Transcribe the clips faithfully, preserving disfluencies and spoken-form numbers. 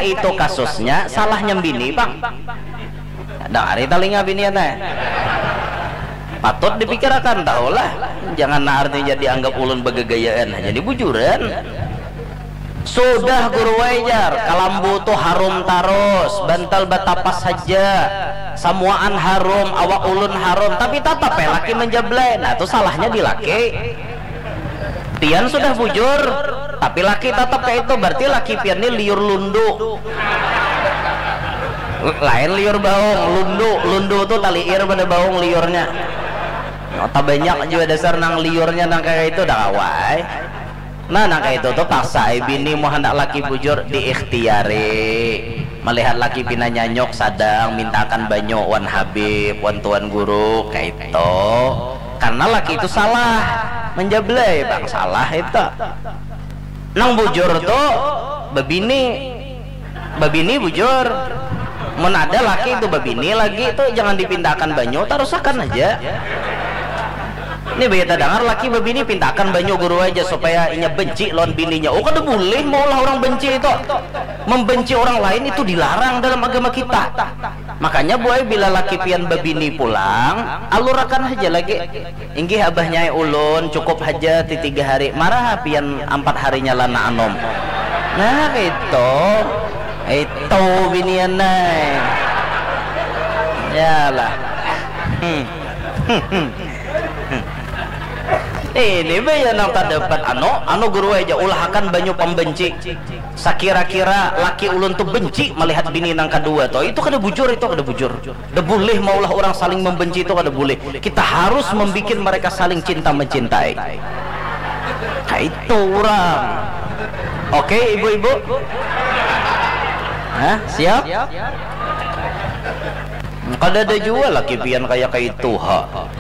Itu kasusnya salahnya bini pang. Dangari talinga binian ai. Patut dipikirakan tahulah. Jangan naar ni jadi anggap ulun bagagayaan. Jadi bujuran. Sudah guru ai jar, kalambu tu harum tarus, bantal batapas haja. Samuaan harum, awak ulun harum, tapi tatap ai laki manjablai. Nah, tu salahnya di laki. Pian sudah bujur, tapi laki tatap kaya itu, berarti laki pian ni liur lundu. Lain liur baung, lundu, lundu tu taliir pada baung liurnya. Tabanyak jua dasar nang liurnya nang kaya itu, dah kawa ai. Nah, nang kaya itu tu paksa ai bini mun handak laki bujur, diikhtiari. Malihat laki pina nyanyuk sadang, mintakan banyu wan habib, wan tuan guru, kaya itu. Karena laki itu salah, manjablai pang salah itu. Nang bujur tu babini, babini bujur. Mun ada laki tu babini lagi tu jangan dipintakan banyu, tarusakan haja. Ni baya tadangar laki babini pintakan banyu guru ai jar supaya inya benci lawan bininya. Oh, kada bulih maulah urang benci itu. Membenci orang lain itu dilarang dalam agama kita. Makanya buai bila laki pian babini pulang, alurakan haja lagi. Inggih abahnya ai ulun, cukup haja ti tiga hari. Marah pian ampat harinya lah nak anum. Nah, kaitu. Itu binian ai. Yalah. Hmm. Ini baya nang tadapat anu, anu guru ai ja, ulahakan banyu pambenci. Sakira-kira laki ulun tu benci malihat bini nang kadua tu, itu kada bujur, itu kada bujur. Kada bulih maulah urang saling membenci itu, kada bulih. Kita harus membikin mereka saling cinta mencintai. Kaitu urang. Oke, ibu-ibu? Hah? Siap? Kadada jua laki pian kaya kaitu ha.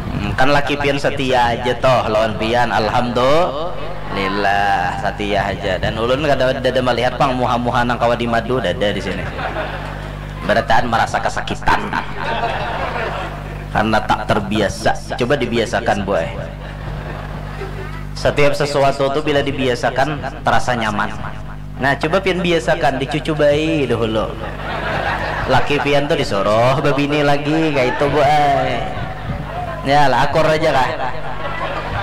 Hmm, kan laki pian setia aja toh lawan pian, alhamdulillah setia aja. Dan ulun kada, dada malihat pang muha-muha nang kawa dimadu, dada di sini. Barataan marasa kasakitan karena tak terbiasa. Coba dibiasakan, boy. Setiap sesuatu tu bila dibiasakan terasa nyaman. Nah, coba pian biasakan dicucubai dahulu. Laki pian tu disuruh babini lagi, kaitu, boy. Ya lah, akur aja kah?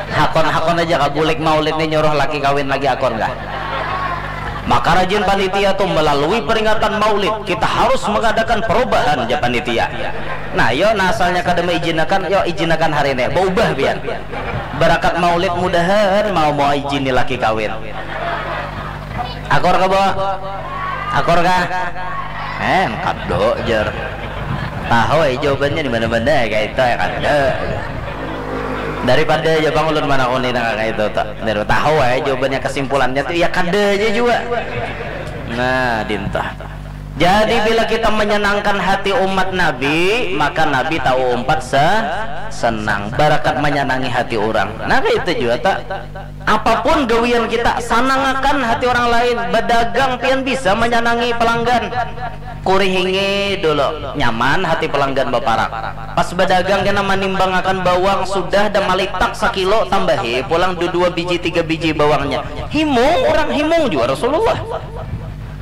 Hakon-hakon aja kah? Bulik maulid ni nyuruh laki kawin lagi, akur kah? Maka rajin panitia tu, melalui peringatan maulid kita harus mengadakan perubahan, ja panitia. Nah, yo, nah, asalnya kada maijinakan, yo, ijinakan hari ini, baubah pian. Barakat maulid mudahan mau, mau ijini laki kawin. Akur ka, Bo? Akur ka? Eh, kada jar. Tahu ai jawabannya di mana-mana, kaitu ai, kada. Daripada aja pang ulun manakuni nang kaitu tu. Daripada tahu ai jawabannya, kesimpulannya tu ya kada aja jua. Nah, dintah. Jadi bila kita menyenangkan hati umat Nabi, maka Nabi tahu umpat se senang. Barakat menyenangi hati orang. Nah, kaitu jua ta. Apapun gawian kita, sanangakan hati orang lain. Badagang pian bisa manyanangi palanggan. Kurihingi dulu, nyaman hati palanggan baparak. Pas badagang kena manimbangakan bawang, sudah dah malitak sakilo, tambahi pulang dua biji tiga biji bawangnya. Himung orang, himung jua Rasulullah.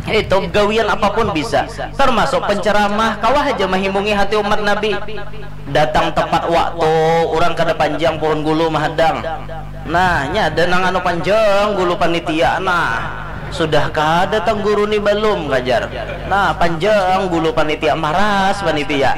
Itu gawian apapun bisa, termasuk penceramah, kawa haja mahimungi hati umat Nabi. Datang tepat waktu, urang kada panjang puhun gulu mahadang. Nah, nya ada nang anu panjang gulu panitia, nah. Sudah kada tangguru ni balum, kajar. Nah, panjang gulu panitia, maras panitia.